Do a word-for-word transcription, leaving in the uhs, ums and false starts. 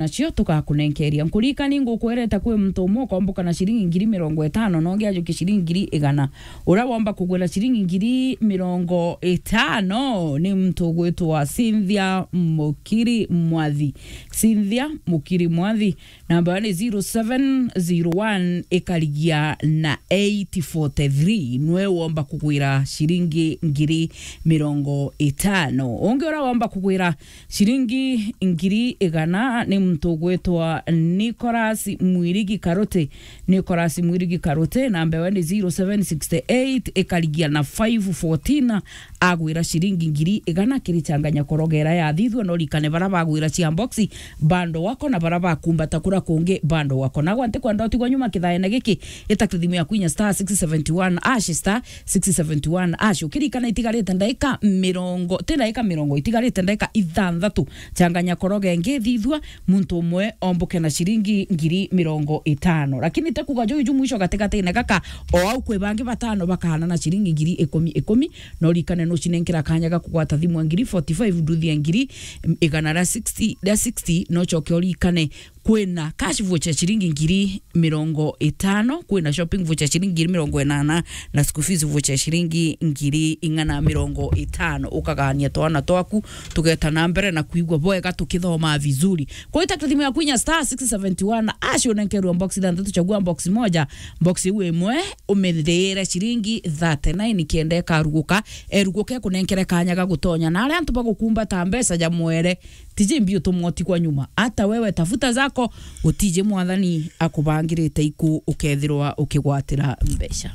nacio tugakunenkeria. Nkuririkani ngukwerete kwi muntu umwe ukomboka na ciringi ngiri mirongo itano, na ungi ajukie ciringi ngiri igana. Uria womba kugwira ciringi ngiri mirongo itano ni muntu ugwitwa Cynthia Mukiri Mwathi. Cynthia Mukiri Mwathi, namba ni zero seven zero one ikarigia na eight forty three. Nwe womba kugwira ciringi ngiri mirongo itano. Ungi uria womba kugwira ciringi ngiri igana ni muntu ugwitwa Nicholas Mwirigi Karuti. Nicholas Mwirigi Karuti, namba ewe ni zero seven six eight ikarigia na five fourteen. Agwira ciringi ngiri igana kiri changanya korogera ya thithua, no rikane bara bagwira cia boxi bando wako na bara bakumbata kura kungi bando wako. Nagwa ntikwenda utigwa nyuma kithaene giki, ita kithimu ya kwinya star six seventy one hash, star six seventy one hash. Ukirikana itigarite ndaika mirongo, ti ndaika mirongo, itigarite ndaika ithanthatu. Changanya koroge ngi thithua, muntu umwe omboke na ciringi ngiri mirongo itano. Lakini te kuga juju mwisho gatigati-ini gaka, o au kwi bangi batano bakahana na ciringi ngiri ikumi ikumi, no rikane nucinenkera kanya ga kugwata thimu ya ngiri forty five, nduthi ya ngiri igana ria sixty, ria sixty, no coke urikane kwina cash voucher ciringi ngiri mirongo itano, kwina shopping voucher ciringi ngiri mirongo inana, na school fees voucher ciringi ngiri igana mirongo itano. Ukagania twana twaku, tugeta na mbere na kuigua bwega tukithoma vizuri. Kwa ita thimu ya kwinya star six seventy one hash, unenkerwa box ithanthatu, chagua box moja, box iu imwe, umithire ciringi thirty-nine, kenda ikaruguka, eruguke kunenkere kanya ga gutonya. Na aria antu bagukumbata mbeca ja mwere, tiji mbi utumwa utigwa nyuma. Hata wewe tafuta zako, utiji mwathani akubangirite iku ukethirwa ukigwatira mbeca.